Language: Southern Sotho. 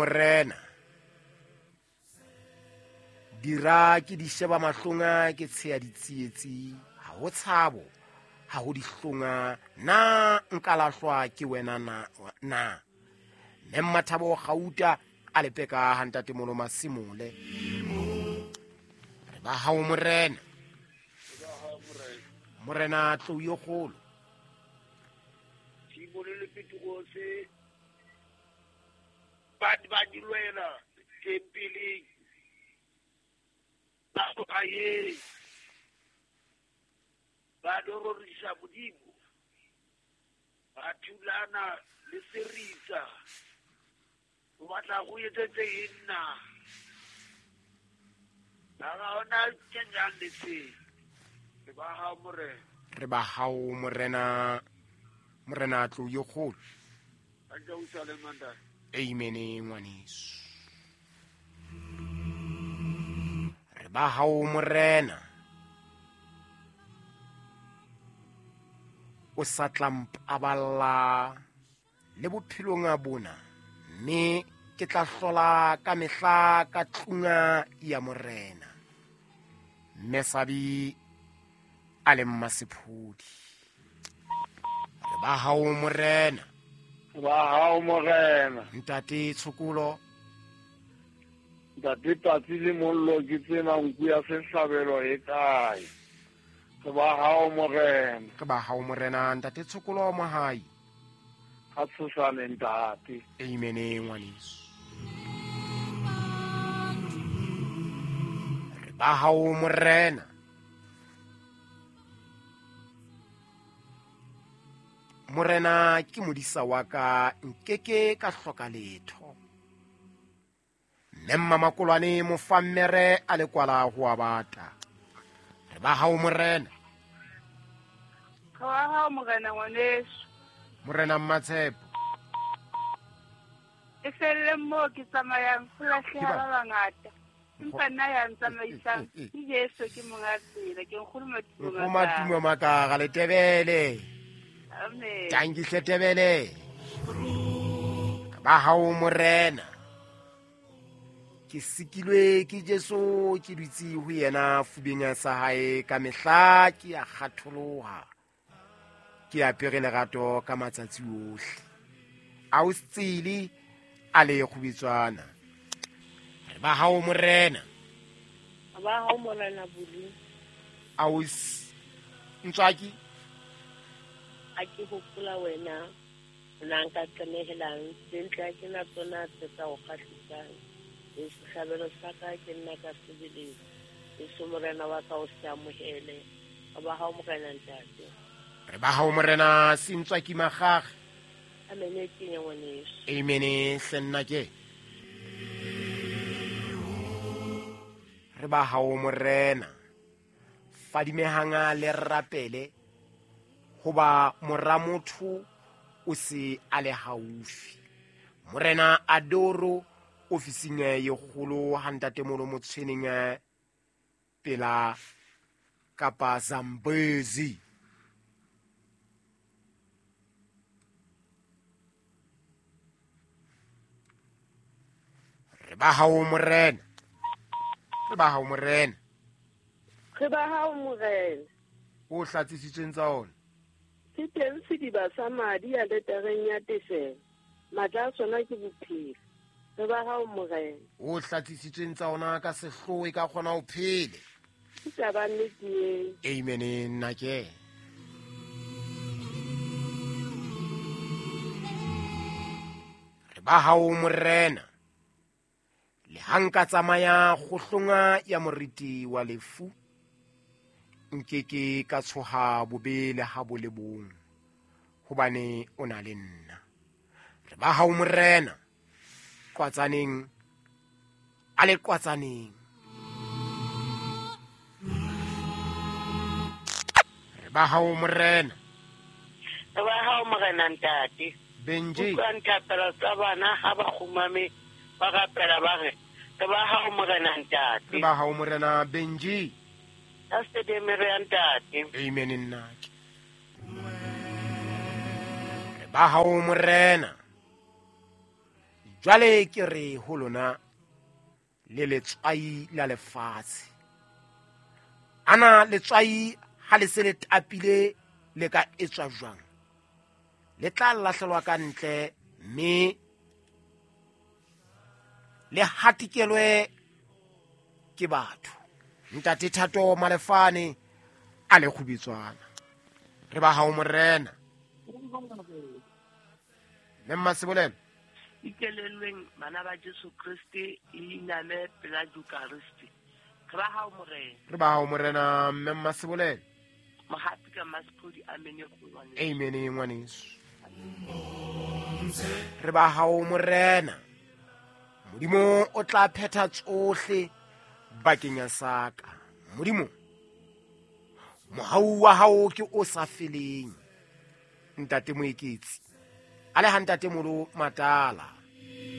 Morena. Dira ke di sheba mahlonga ke tsheya ditsietsi, ha ho tshabo, ha ho dihlonga, na nka lahlwa ke wena na na. Mme Mmathabo Gauta a lepeka ha ntatemolo Masimole. Re ba hao Morena. Morena tlou yo kgolo. Simone le Petrose ba ba di lwela tempeleng ba tloga ba dororisa Modimo ba thulana le serisa o batla go etsetse eng na ba ga ona tšenjang le se re ba hao Morena. Re ba hao Morena, Morena tlou yo kgolo. Amen ngwaneso. Re ba hao Morena. O sa tla mpaballa le bophelong a bona, mme ke tla hlola ka mehla ka tlunga ya Morena. Mme Sabi a le mmasephodi. Re ba hao Morena. Ba hao Morena. Ntate Tshokolo. Ntate Patsi le mollo ke tsena nku ya sehlabelo e kae? Re ba hao Morena. Re ba hao Morena, Ntate Tshokolo Mohai. Ha tshosane ntate. Amen ngwaneso. Re ba hao Morena. Morena ke modisa wa ka, nkeke ka hloka letho. Mme Mmamakolwane mofammere a le kwala ho a bata. Re ba hao Morena. Re ba hao Morena ngwaneso. Morena Mmatshepo. E felle moo ke tsamayang ho lahleha ba bangata. Empa nna ya ntsamaisang ke Jesu ke monga tsela, ke nkgono Matumo Matumo Makara le Tebele. Amen. Tanki hle Tebele. Ba hao Morena. Ke sikilwe ke Jesu, ke dutse ho yena fubeng sa hae ka mehla, ke a kgatholoha. Ke apere lerato ka matsatsi ohle. A o tsele a le kgubetswana. Re ba hao Morena. Ba hao Morena Bulu. A o ntswaki? A ke hopola wena, nna nka tlamehelang, tse ntle ha ke na tsona tse ka o kgahlisang. E sehlabelo sa ka ke nna ka sebele. Jesu Morena wa ka o se amohele. Re ba hao Morena ntate. Re ba hao Morena Sentswaki Magage. Amen e kenya ngwaneso. Amen hle nna ke. Re ba hao Morena. Fadimehanga le rapele hoba mora motho o se a le haufi. Morena Adoro ofising ye kgolo ha ntatemolo Motshweneng pela kapa Zambezi. Re ba hao Morena. Re ba hao Morena. Re ba hao Morena. O hlatsisitsweng tsa ona. Se teng sediba sa madi a letareng ya tefelo. Matla a sona ke bophelo. Re ba hao Morena. O hlatsisitsweng tsa ona ka sehloho e ka kgona ho phele. Ke taba nnete eo. Amen nna ke. Re ba hao Morena. Le ha nka tsamaya kgohlonga ya moriti wa lefu, nkeke ka tshoha bobe le ha bo le bong, hobane o na le nna. Re ba hao Morena. Qwatsaneng, a le qwatsaneng. Re ba hao Morena. Re ba hao Morena ntate. Benji. Utlwa nthapelo tsa bana ha ba kgumame, ba rapela ba re, re ba hao Morena ntate. Re ba hao Morena Benji. Ka sedemere ya ntate. Amen nna. Re ba hao Morena. Jwale ke re ho lona, le letswai la lefatshe. Ana letswai ha le se le tapile le ka etswa jwang? Le tla lahlelwa ka ntle mme le hatikelwe ke batho. Ntate Thato Malefane a le kgubitswana. Re ba hao Morena. Mme Mmasebolelo. Ikelellweng bana ba Jesu Kriste le iname pela Jukariste. Re ba hao Morena. Re ba hao Morena Mme Mmasebolelo. Mohapi ka Masphodi, amen ngwaneso. Amen ngwaneso. Re ba hao Morena. Modimo o tla phetha tsohle bakeng ya saka. Modimo, mohau wa hao ke o sa feleng. Ntate Moeketsi, a le ha ntate Molo Matala.